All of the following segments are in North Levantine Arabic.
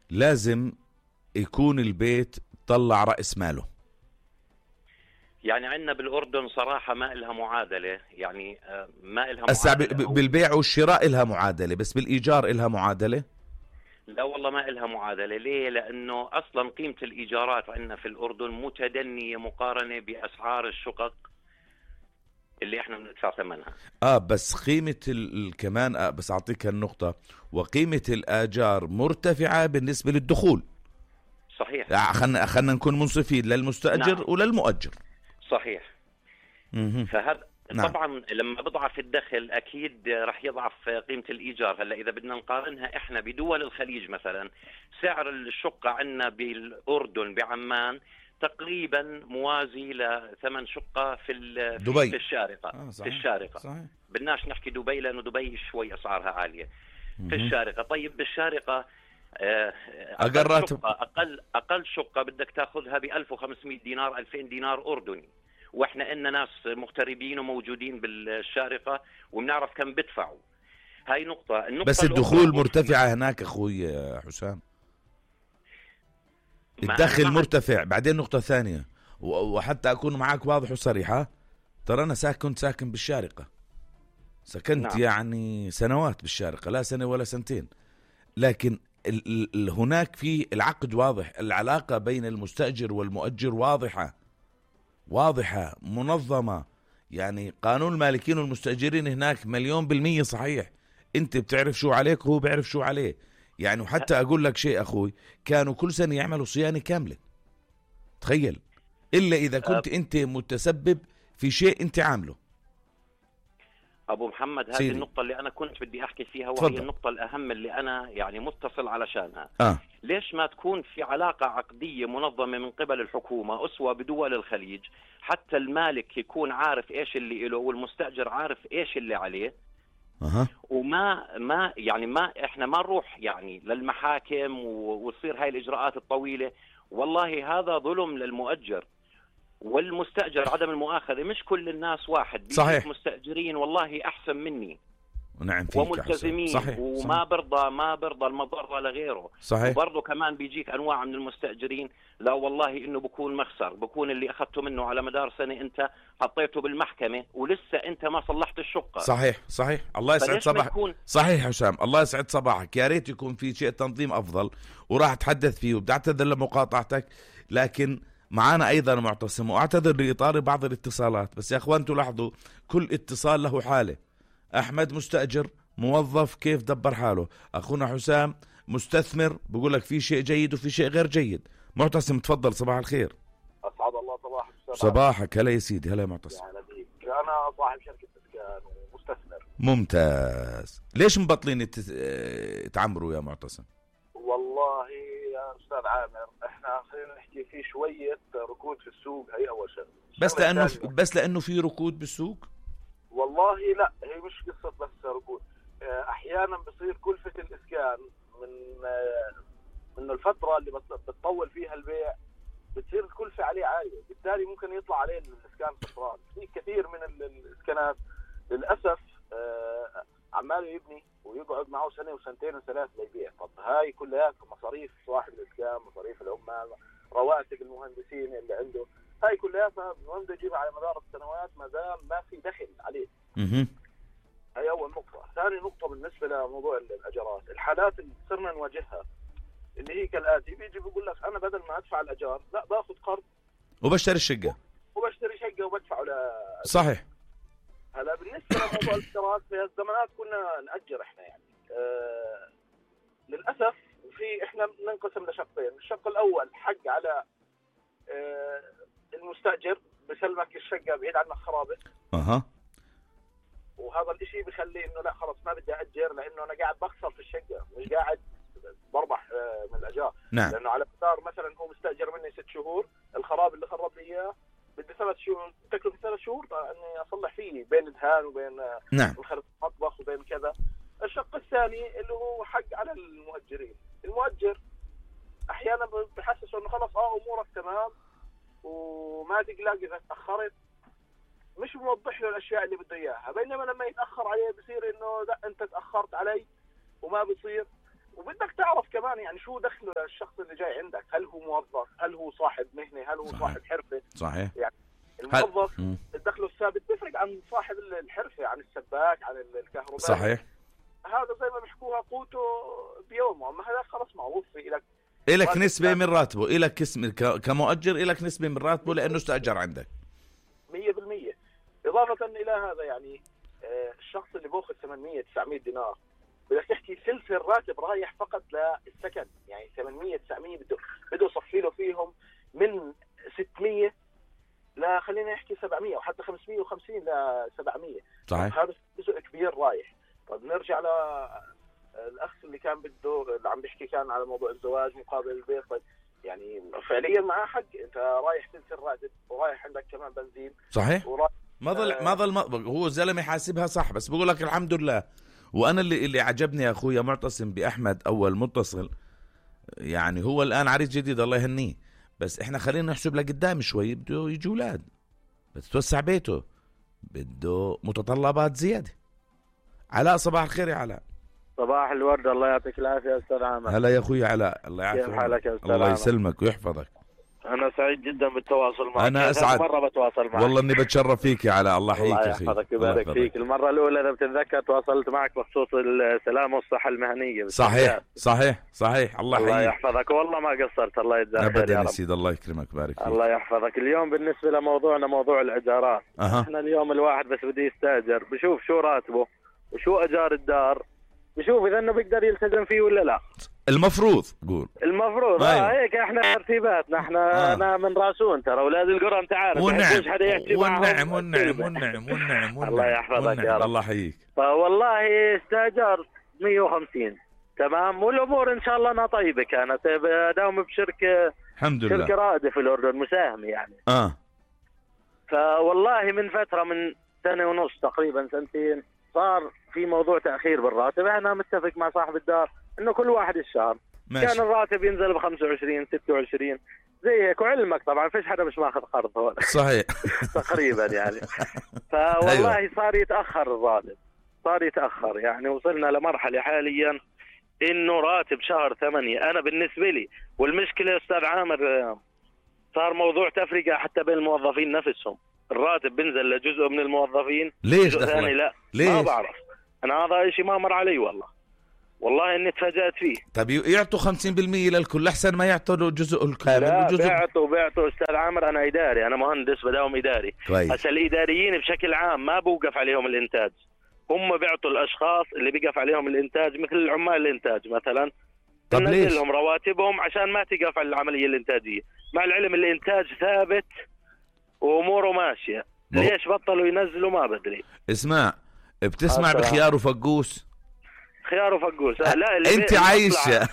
لازم يكون البيت طلع رأس ماله. يعني عندنا بالأردن صراحة ما إلها معادلة، يعني ما إلها معادلة. بالبيع والشراء إلها معادلة، بس بالإيجار إلها معادلة؟ لا والله ما إلها معادلة. ليه؟ لأنه أصلا قيمة الإيجارات عندنا في الأردن متدنية مقارنة بأسعار الشقق اللي احنا بندفع ثمنها. بس قيمة كمان بس أعطيك النقطة، وقيمة الآجار مرتفعة بالنسبة للدخول. صحيح. خلنا نكون منصفين للمستأجر. نعم. وللمؤجر. صحيح. فهذا نعم. طبعا لما بضعف الدخل أكيد رح يضعف قيمة الإيجار. هلا إذا بدنا نقارنها إحنا بدول الخليج مثلا، سعر الشقة عندنا بالأردن بعمان تقريبا موازي لثمن شقة في دبي. في الشارقة. في الشارقة. صحيح. بدناش نحكي دبي لأنه دبي شوي أسعارها عالية. في الشارقة. طيب بالشارقة أقل شقة بدك تأخذها ب1500 دينار 2000 دينار أردني، واحنا إننا ناس مغتربين وموجودين بالشارقة وبنعرف كم بدفعوا. هاي نقطة. بس الدخول مرتفعة هناك أخوي حسام، الدخل مرتفع. بعدين نقطة ثانية، وحتى أكون معك واضح وصريحة، ترى أنا كنت ساكن بالشارقة، سكنت نعم. يعني سنوات بالشارقة، لا سنة ولا سنتين، لكن هناك في العقد واضح، العلاقة بين المستأجر والمؤجر واضحة منظمة. يعني قانون المالكين والمستأجرين هناك 100% صحيح. انت بتعرف شو عليك وهو بيعرف شو عليه. يعني وحتى أقول لك شيء أخوي، كانوا كل سنة يعملوا صيانة كاملة، تخيل، إلا إذا كنت أنت متسبب في شيء أنت عامله. أبو محمد، هذه النقطة اللي أنا كنت بدي أحكي فيها، وهي النقطة الأهم اللي أنا يعني متصل علشانها. ليش ما تكون في علاقة عقدية منظمة من قبل الحكومة أسوة بدول الخليج، حتى المالك يكون عارف إيش اللي له والمستأجر عارف إيش اللي عليه. وما يعني ما احنا ما نروح يعني للمحاكم وتصير هاي الإجراءات الطويلة. والله هذا ظلم للمؤجر والمستأجر، عدم المؤاخذة. مش كل الناس واحد. صحيح. مستأجرين والله أحسن مني نعم وملتزمين. صحيح. وما برضى المضرة لغيره. صحيح. وبرضه كمان بيجيك أنواع من المستأجرين، لا والله إنه بكون مخسر، بكون اللي أخذته منه على مدار سنة أنت حطيته بالمحكمة ولسه أنت ما صلحت الشقة. صحيح. الله يسعد صباحك. صحيح حسام، الله يسعد صباحك. يا ريت يكون في شيء تنظيم أفضل، وراح أتحدث فيه، وبدي أعتذر لمقاطعتك، لكن معانا أيضا معتصم، وأعتذر لإطار بعض الاتصالات. بس يا أخوان تلاحظوا كل اتصال له حالة. أحمد مستأجر، موظف، كيف دبر حاله. أخونا حسام مستثمر، بقول لك في شيء جيد وفي شيء غير جيد. معتصم تفضل، صباح الخير. أسعد الله صباحك. صباحك. هلا يا سيدي. هلا يا معتصم. أنا صاحب شركة إسكان ومستثمر. ممتاز. ليش مبطلين تعمروا يا معتصم؟ والله يا أستاذ عامر، إحنا خلينا نحكي في شوية ركود في السوق، هي أول شيء. بس لأنه في ركود بالسوق؟ والله لا، هي مش قصة بس ركود. أحيانا بصير كلفة الإسكان من الفترة اللي بتطول فيها البيع بتصير الكلفة عليه عالية، بالتالي ممكن يطلع عليه الإسكان خسران. في كثير من الإسكانات للأسف عماله يبني ويقعد معه سنة وسنتين وثلاث ليبيع. طب هاي كلها مصاريف صاحب الإسكان، مصاريف العمال، رواتب المهندسين اللي عنده، هاي كلها بنقدر نجيبها على مدار السنوات ما دام ما في دخل عليه. هاي أول نقطة. ثاني نقطة بالنسبة لموضوع الأجارات، الحالات اللي صرنا نواجهها اللي هي كالآتي: بيجي بيقول لك أنا بدل ما أدفع الأجار لا باخذ قرض وبشتري الشقة وبدفعه صحيح. هلا بالنسبة لموضوع الإجارات، في الزمانات كنا نأجر إحنا يعني للأسف إحنا بننقسم لشقين. الشق الأول حق على المستأجر، بسلمك الشقة بعيد عنك خرابة. وهذا الاشي بخلي انه لا خلص ما بدي أأجر، لانه انا قاعد بخسر في الشقة، مش قاعد بربح من الأجار. نعم. لانه على مدار مثلا هو مستأجر مني 6 شهور، الخراب اللي خرب لي اياه بدي 3 شهور، تكلفة 3 شهور اني اصلح فيه بين دهان وبين مخرج مطبخ وبين كذا. الشق الثاني اللي هو حق على المؤجرين. المؤجر احيانا بحسسه انه خلص امورك تمام وما تقلق اذا تاخرت، مش موضح له الاشياء اللي بده اياها. بينما لما يتاخر عليه بصير انه لا انت تاخرت علي وما بصير. وبدك تعرف كمان يعني شو دخله الشخص اللي جاي عندك، هل هو موظف، هل هو صاحب مهنة، هل هو صحيح. صاحب حرفة. صحيح. يعني الموظف دخله الثابت بيفرق عن صاحب الحرفة، عن السباك، عن الكهرباء. صحيح. هذا زي ما بيحكوها قوته بيومه، اما هذا خلص معروف إلك نسبة من راتبه، إلك اسم كمؤجر، إلك نسبة من راتبه لأنه استأجر عندك 100%. إضافة إلى هذا يعني الشخص اللي بأخذ 800-900 دينار بدك تحكي ثلث الراتب رايح فقط للسكن، يعني 800-900 بده يصفي له فيهم من 600 خلينا نحكي 700 وحتى 550 ل 700. صحيح. هذا جزء كبير رايح. طب نرجع الأخ اللي كان بده اللي عم بيحكي كان على موضوع الزواج مقابل البيت. طيب يعني فعليا معاه حق، انت رايح ثلث الراتب ورايح عندك كمان بنزين. صحيح. ما ضل هو الزلمه حاسبها صح، بس بقول لك الحمد لله. وانا اللي عجبني يا اخويا معتصم باحمد اول متصل، يعني هو الان عريس جديد الله يهنيه، بس احنا خلينا نحسب لقدام شوي، بده يجي اولاد، بتتوسع بيته، بده متطلبات زياده. علاء صباح الخير يا علاء. صباح الورد، الله يعطيك العافية يا أستاذ عامر. هلا يا أخوي علاء، الله يعافيك. كيف حالك يا أستاذ الله عامر؟ يسلمك ويحفظك. أنا سعيد جدا بالتواصل معك. أنا أسعد مرة بتواصل معك. والله إني بتشرف فيك يا علاء. الله يحييك يا أخي. الله يحفظك ويبارك فيك. المرة الأولى إذا بتتذكر تواصلت معك بخصوص السلامة والصحة المهنية. صحيح صحيح صحيح. الله يحييك. الله يحفظك والله ما قصرت. الله يجزاك خير أبدا يا رب. سيد الله يكرمك بارك فيك. الله يحفظك. اليوم بالنسبة لموضوعنا موضوع الإيجارات. إحنا اليوم الواحد بس بده يستأجر بشوف شو راتبه وشو أجار الدار، بشوف إذا إنه بيقدر يلتزم فيه ولا لا. المفروض المفروض أيوة. هيك احنا ترتيباتنا احنا انا من راسون ترى اولاد القرى انت عارف. والنعم الله يحفظك يا رب. الله يحييك. فوالله استاجرت 150 تمام، والامور ان شاء الله انها طيبه كانت. داوم بشركه الحمد لله، شركه رائده في الاردن مساهمه يعني. فوالله من فتره من سنه ونص تقريبا سنتين صار في موضوع تاخير بالراتب. انا متفق مع صاحب الدار انه كل واحد الشهر ماشي. كان الراتب ينزل ب 25 26 زي هيك، وعلمك طبعا فيش حدا مش ماخذ قرض هون. صحيح. تقريبا يعني. فوالله أيوة. صار يتاخر الراتب، صار يتاخر يعني. وصلنا لمرحله حاليا انه راتب شهر 8 انا بالنسبه لي. والمشكله يا استاذ عامر صار موضوع تفرقه حتى بين الموظفين نفسهم. الراتب بينزل لجزء من الموظفين، ليش جزء ثاني لا. ليش؟ ما بعرف انا، هذا شيء ما مر علي والله اني تفاجأت فيه. طب يعطوا 50% للكل احسن ما يعطوا جزء الكل. لا بعتوا استاذ عامر. انا اداري، انا مهندس بداوم اداري. هسه الاداريين بشكل عام ما بوقف عليهم الانتاج، هم بيعطوا الاشخاص اللي بيقف عليهم الانتاج مثل العمال الانتاج مثلا. طب ليش؟ لهم رواتبهم عشان ما تقف على العمليه الانتاجيه، مع العلم الانتاج ثابت واموره ماشيه. ليش بطلوا ينزلوا ما بدري. اسمع، بتسمع بخيار وفقوس؟ خيار وفقوس لا انت عايشه.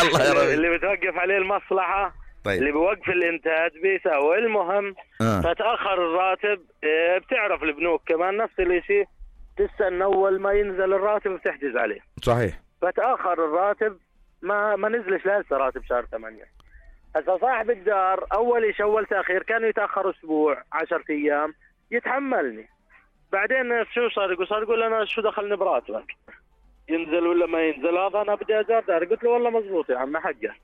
الله يا رب. اللي بتوقف عليه المصلحه. طيب. اللي بوقف الانتاج بيساوي. المهم فتاخر الراتب. بتعرف البنوك كمان نفس الشيء، تستنى اول ما ينزل الراتب بتحجز عليه. صحيح. فتاخر الراتب ما نزلش لسه راتب شهر 8. هسه صاحب الدار اول شيء اول تاخير كانوا يتاخروا اسبوع 10 ايام يتحملني. بعدين شو صار يقول انا شو دخلني براتبك، ينزل ولا ما ينزل، هذا انا بدي اجار دار. قلت له والله مزبوط يا عم حقه.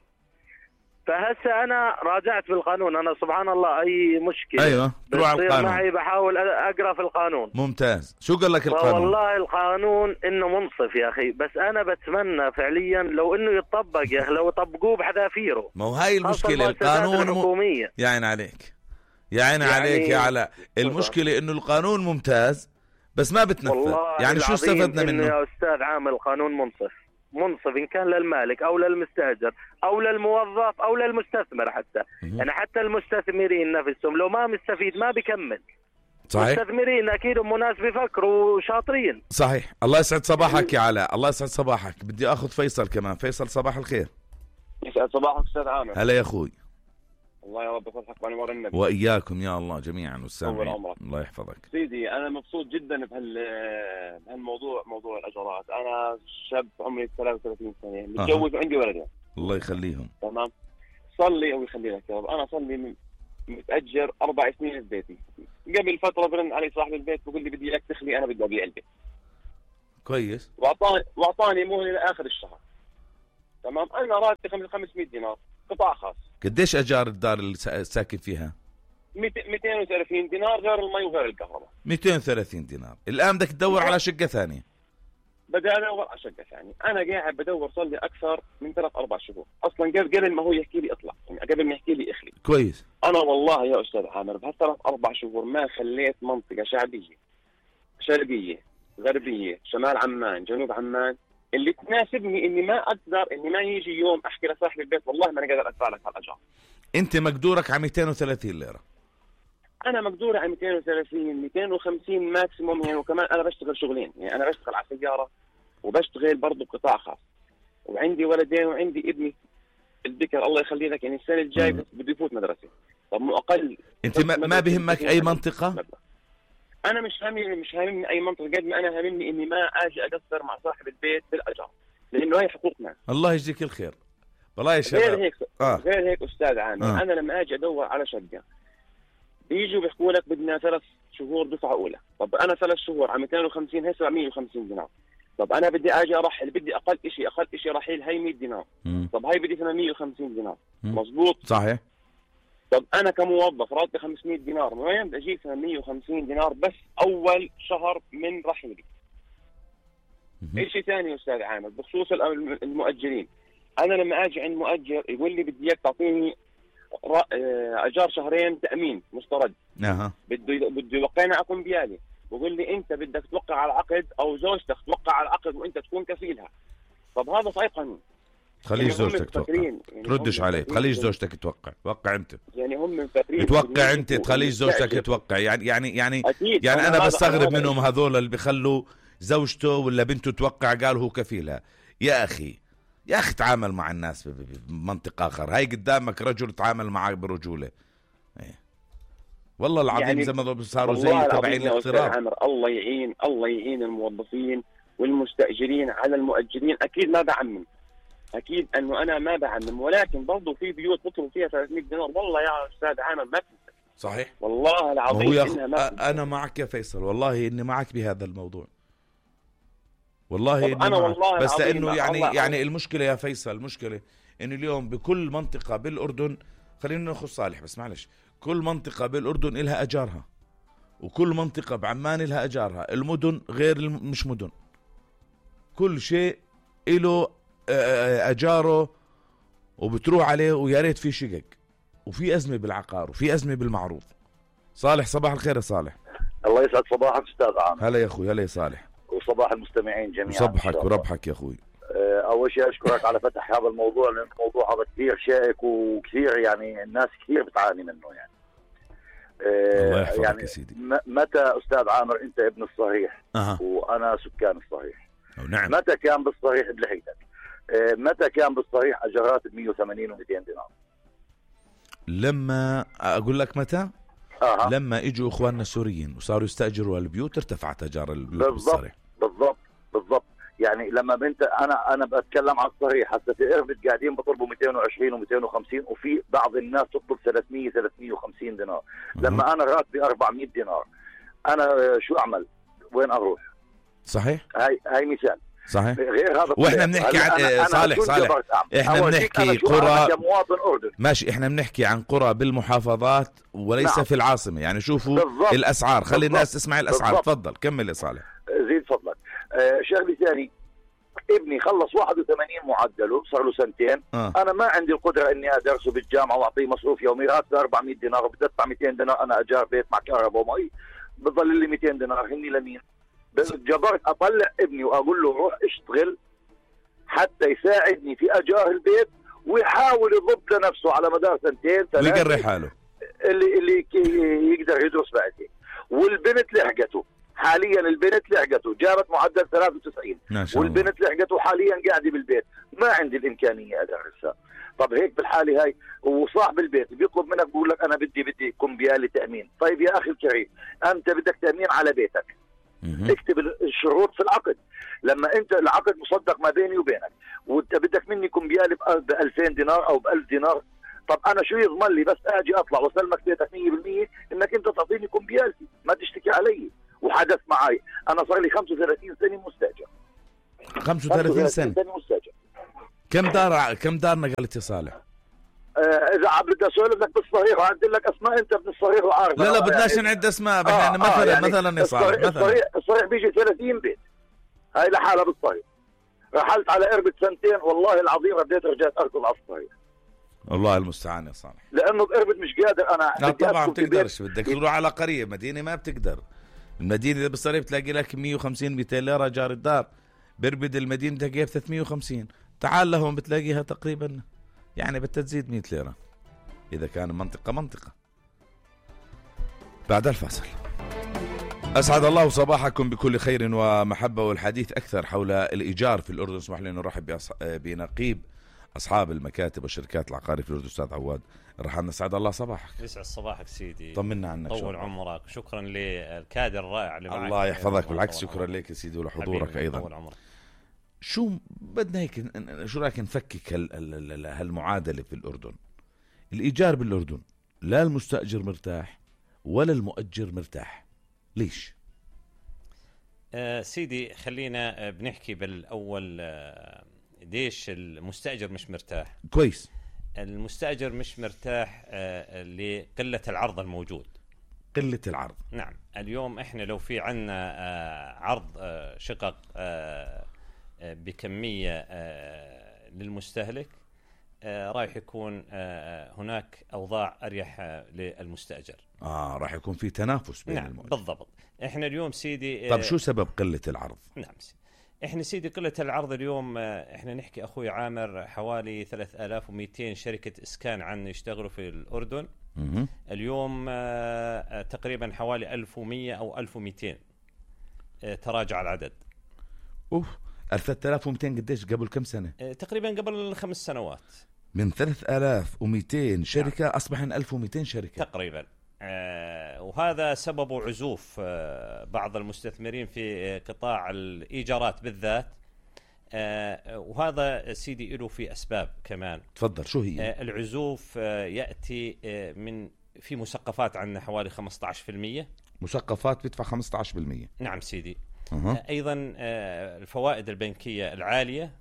فهسه انا راجعت بالقانون. انا سبحان الله اي مشكله ايوه تروح على القانون معي بحاول اقرا في القانون. ممتاز. شو قال لك القانون؟ والله القانون انه منصف يا اخي، بس انا بتمنى فعليا لو انه يطبق يا اخي، لو يطبقوه بحذافيره. ما هو هاي المشكله. القانون الحكوميه يا عين عليك، يا عين عليك يا علاء. المشكله انه القانون ممتاز بس ما بتنفذ. يعني شو استفدنا منه يا استاذ عامل؟ القانون منصف إن كان للمالك أو للمستأجر أو للموظف أو للمستثمر حتى. يعني حتى المستثمرين نفسهم لو ما مستفيد ما بيكمل. صحيح. المستثمرين أكيد هم ناس بيفكروا وشاطرين. صحيح. الله يسعد صباحك يا علاء. الله يسعد صباحك. بدي أخذ فيصل كمان. فيصل صباح الخير. يسعد صباحك أستاذ عامر. هلا يا أخوي. الله يا رب يصلحك بأنوار النبي. وإياكم يا الله جميعا والسامعين. الله يحفظك سيدي. أنا مبسوط جدا بهالموضوع، موضوع الأجارات. أنا شاب عمري 33 سنة متجوز وعندي ولدين. الله يخليهم. تمام. صلي أو يخلي لك يا رب. أنا صلي متأجر 4 سنين في بيتي. قبل فترة برن علي صاحب البيت بقول لي بدي لك تخلي، أنا بدي أبيع البيت. كويس. واعطاني مهله لاخر الشهر. تمام. انا راتبي 500 دينار، قطاع خاص. قديش اجار الدار اللي ساكن فيها؟ 230 دينار غير المي وغير الكهرباء. 230 دينار. الان بدك تدور على شقه ثانيه. بدي ادور على شقه ثانيه. انا قاعد بدور صار لي اكثر من 3-4 شهور. اصلا قبل ما هو يحكي لي اطلع، يعني قبل ما يحكي لي اخلي. كويس. انا والله يا استاذ عامر بهال3-4 شهور ما خليت منطقه شعبيه شرقيه غربيه شمال عمان جنوب عمان اللي تناسبني، اني ما اقدر اني ما يجي يوم احكي لصاحب البيت والله ما انا قادر ادفع لك هالاجار. انت مقدورك على 230 ليره. انا مقدور على 230 250 ماكسيموم يعني. وكمان انا بشتغل شغلين، يعني انا بشتغل على سياره وبشتغل برضه بقطاع خاص، وعندي ولدين وعندي ابني الذكر الله يخلي لك، يعني السنه الجاي بده يفوت مدرسه. طب مو اقل. انت ما بهمك اي منطقه؟ انا مش هاممني اي منطقه قد ما انا هاممني اني ما اجي اقصر مع صاحب البيت بالاجار، لانه هي حقوقنا. الله يجزيك الخير. والله يا شباب غير هيك استاذ عامر. انا لما اجي ادور على شقه بيجوا بيحكوا لك بدنا 3 شهور دفعه اولى. طب انا 3 شهور على 250 هي 750 دينار. طب انا بدي اجي ارحل، بدي اقل شيء رحيل هي 100 دينار. طب هي بدي 850 دينار. مزبوط صحيح. طب انا كموظف راتبي 500 دينار، من وين بدي اجيب 850 دينار بس اول شهر من رحيلي؟ شيء ثاني استاذ عامر بخصوص المؤجرين. انا لما اجي عند مؤجر يقول لي بدي اياك تعطيني اجار شهرين تامين مسترد. بده يوقعنا على كمبيالي. بقول لي انت بدك توقع على العقد او زوجتك توقع على العقد وانت تكون كفيلها. طب هذا صحيح قانون. خليش زوجتك توقع. يعني تردش عليه. خليش زوجتك توقع انت. يعني هم مفكرين توقع انت، تخليش زوجتك توقع. يعني انا بستغرب منهم هذول اللي بيخلوا زوجته ولا بنته توقع قالوا هو كفيلها. يا اخي تعامل مع الناس بمنطق اخر. هاي قدامك رجل تعامل معك برجوله. والله العظيم يعني زي ما صاروا زي تبعين الاغتراب. الله يعين الموظفين والمستاجرين على المؤجرين. اكيد ما بعمم، اكيد انه انا ما بعمم، ولكن برضه في بيوت بطلب فيها 300 دينار. والله يا استاذ عامر ما في. صحيح والله العظيم انا معك يا فيصل، والله اني معك بهذا الموضوع. والله أنا والله بس لانه يعني المشكله يا فيصل، المشكله انه اليوم بكل منطقه بالاردن، خلينا ناخذ صالح بس معلش، كل منطقه بالاردن لها اجارها، وكل منطقه بعمان لها اجارها. المدن غير مش مدن، كل شيء له اجاره وبتروح عليه. ويا ريت في شقق وفي ازمه بالعقار وفي ازمه بالمعروض. صالح صباح الخير يا صالح. الله يسعد صباحك استاذ عامر. هلا يا اخوي. هلا يا صالح. وصباح المستمعين جميعا. صبحك وربحك يا اخوي. اول شيء اشكرك على فتح هذا الموضوع، لان الموضوع هذا كثير شائك وكثير يعني الناس كثير بتعاني منه يعني. الله يحفظك يعني يا سيدي. متى استاذ عامر انت ابن الصحيح وانا سكان الصحيح. نعم. متى كان بالصحيح بلحيتك؟ متى كان بالصحيح اجارات ب 180 و200 دينار؟ لما اقول لك متى؟ لما اجوا اخواننا السوريين وصاروا يستاجروا البيوت ارتفعت اجار البيوت بالصريح. بالضبط يعني لما انا بتكلم عن الصريح. هسه في اربد قاعدين بطلبوا 220 و250 وفي بعض الناس تطلب 350 دينار. لما انا راتبي 400 دينار انا شو اعمل؟ وين اروح؟ صحيح. هاي مثال. صحيح. غير هذا واحنا بنحكي عن صالح احنا بنحكي قرى كمواطن اردني. ماشي، احنا بنحكي عن قرى بالمحافظات وليس في العاصمه. يعني شوفوا بالضبط. الاسعار. خلي الناس تسمع الاسعار. تفضل كمل يا صالح. زيد فضلك. شغله ثاني، ابني خلص 81 معدله صار له 2 سنين. انا ما عندي القدره اني ادرسه بالجامعه واعطيه مصروف يومي. راتبه 400 دينار وبدي ادفع 200 دينار انا اجار بيت مع كهرباء ومي. بضل لي 200 دينار هني لمين؟ جبرت اطلع ابني واقول له روح اشتغل حتى يساعدني في اجار البيت ويحاول يضبط لنفسه على مدار 2 3 ويقري حاله اللي يقدر يدرس بعدين. والبنت لحقته حاليا، البنت لحقته جابت معدل 93 والبنت لحقته حاليا قاعده بالبيت. ما عندي الامكانيه ادرسها. طب هيك بالحاله هاي وصاحب البيت بيطلب منك بقول لك انا بدي كمبيالي تامين. طيب يا اخي الكريم، انت بدك تامين على بيتك، اكتب الشروط في العقد. لما انت العقد مصدق ما بيني وبينك وانت بدك مني كمبيالي ب 2000 دينار او ب 1000 دينار، طب انا شو يضمن لي بس اجي اطلع واسلمك بيتك 100% انك انت تعطيني كمبيالتي؟ ما تشتكي علي. وحدث معي. انا صار لي 35 سنه مستاجر. 35 سنه مستاجر. كم دار نقلت يا صالح؟ اذا بدي اسولف لك بالصريح وعدي لك اسماء انت من الصريح وعارف. لا بدناش نعد اسماء. يعني مثلا يا صالح الصريح بيجي 30 بيت. هاي لحالها بالصريح. رحلت على قربة سنتين والله العظيم رديت رجعت اركض على الصريح. الله المستعان يا صالح. لانه بقربت مش قادر انا. لا طبعا بتقدرش، بدك تروح على قريه. مدينه ما بتقدر. المدينه اذا بالصريح بتلاقي لك 150 200 ليره جار الدار. بربد المدينه تلاقيها ب 350. تعال لهم بتلاقيها تقريبا يعني بدها تزيد 100 ليره اذا كان منطقه. بعد الفاصل. أسعد الله صباحكم بكل خير ومحبة، والحديث أكثر حول الإيجار في الأردن. اسمح لي أن نرحب بنقيب أصحاب المكاتب والشركات العقارية في الأردن أستاذ عواد. رحمنا. سعد الله صباحك. يسعد صباحك سيدي. طمنا عنك. طول عمرك. شكرا للكادر الرائع اللي معك. الله يحفظك. بالعكس شكرا لك يا سيدي ولحضورك أيضا. طول عمرك. شو بدنا هيك، شو رأيك نفكك هالمعادلة في الأردن؟ الإيجار بالأردن لا المستأجر مرتاح ولا المؤجر مرتاح. ليش؟ سيدي خلينا بنحكي بالأول ليش المستأجر مش مرتاح. كويس. المستأجر مش مرتاح لقلة العرض الموجود. قلة العرض. نعم. اليوم احنا لو في عنا عرض شقق بكمية للمستهلك رايح يكون هناك أوضاع أريح للمستأجر. راح يكون في تنافس بين المؤجر. بالضبط. احنا اليوم سيدي طب شو سبب قلة العرض؟ نعم سيدي. احنا سيدي قلة العرض اليوم احنا نحكي أخوي عامر حوالي 3200 شركة إسكان عنا يشتغلوا في الأردن. اليوم تقريبا حوالي 1100 أو 1200 تراجع العدد. 3200 قديش قبل كم سنة؟ تقريبا قبل 5 سنوات. من 3200 شركة أصبحن 1200 شركة تقريبا. وهذا سببه عزوف بعض المستثمرين في قطاع الإيجارات بالذات. وهذا سيدي له في أسباب كمان. تفضل. شو هي؟ العزوف يأتي من في مسقفات عندنا حوالي 15%. مسقفات بتدفع 15%. نعم سيدي. أيضا الفوائد البنكية العالية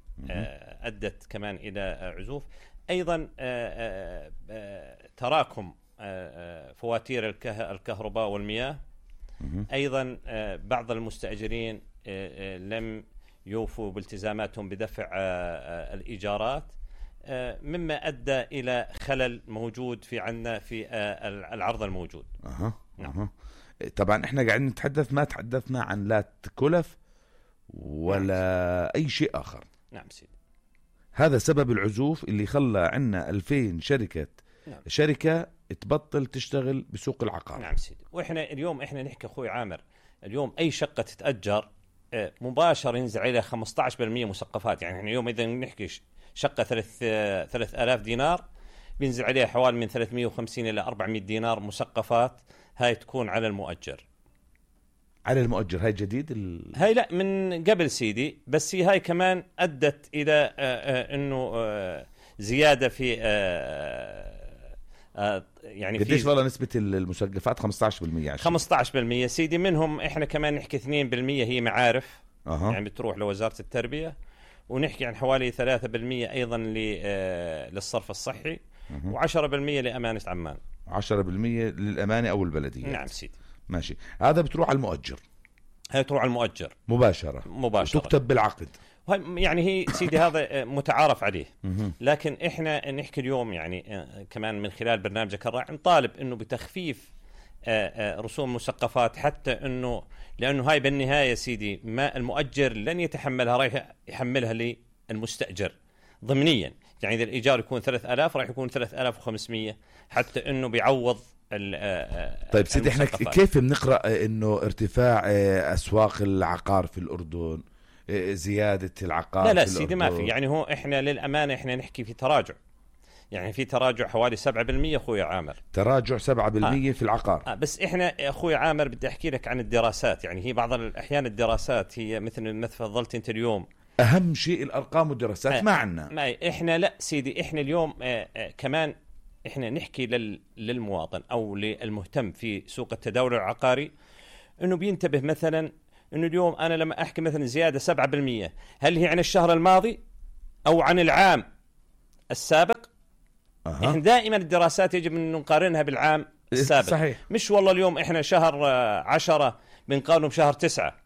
أدت كمان إلى عزوف. أيضا تراكم فواتير الكهرباء والمياه. أيضا بعض المستأجرين لم يوفوا بالتزاماتهم بدفع الإيجارات، مما أدى إلى خلل موجود في عنا في العرض الموجود. نعم. طبعا احنا قاعدين نتحدث، ما تحدثنا عن لا كلف ولا أي شيء آخر. نعم سيدي. هذا سبب العزوف اللي خلى عنا 2000 شركة تبطل تشتغل بسوق العقار. نعم سيدي. وإحنا اليوم نحكي أخوي عامر، اليوم أي شقة تتأجر مباشر ينزل عليها 15% مسقفات. يعني احنا اليوم إذا نحكي شقة 3000 دينار بينزل عليها حوالي من 350 إلى 400 دينار مسقفات. هاي تكون على المؤجر. على المؤجر. هاي جديد هاي لا من قبل سيدي، بس هاي كمان أدت إلى إنه زيادة في يعني قديش والله نسبة المسقفات؟ 15%. 15% سيدي. منهم إحنا كمان نحكي 2% هي معارف. يعني بتروح لوزارة التربية. ونحكي عن حوالي 3% أيضا للصرف الصحي. و10% لأمانة عمان. 10% للأمانة أو البلدية. نعم سيدي. ماشي. هذا بتروح على المؤجر. هي تروح على المؤجر مباشرة. تكتب بالعقد. يعني هي سيدي هذا متعارف عليه. لكن إحنا نحكي اليوم يعني كمان من خلال برنامجك الرائع نطالب إنه بتخفيف رسوم مسقفات، حتى إنه لأنه هاي بالنهاية سيدي ما المؤجر لن يتحملها، رايح يحملها للمستأجر ضمنيا. يعني إذا الإيجار يكون 3000 راح يكون 3500 حتى إنه بيعوض. طيب سيدي احنا كيف بنقرأ إنه ارتفاع أسواق العقار في الأردن، زيادة العقار؟ لا سيدي ما في. يعني هو إحنا للأمانة إحنا نحكي في تراجع. يعني في تراجع حوالي 7% أخوي عامر. تراجع 7% في العقار. بس إحنا أخوي عامر بدي أحكي لك عن الدراسات. يعني هي بعض الأحيان الدراسات هي مثل ما تفضلت أنت اليوم، أهم شيء الأرقام والدراسات ما عنا. إحنا لا سيدي. إحنا اليوم كمان إحنا نحكي للمواطن أو للمهتم في سوق التداول العقاري انه بينتبه مثلا انه اليوم انا لما احكي مثلا زياده 7%، هل هي عن الشهر الماضي او عن العام السابق؟ احنا دائما الدراسات يجب ان نقارنها بالعام السابق. صحيح. مش والله اليوم احنا شهر 10 بنقارنه بشهر 9.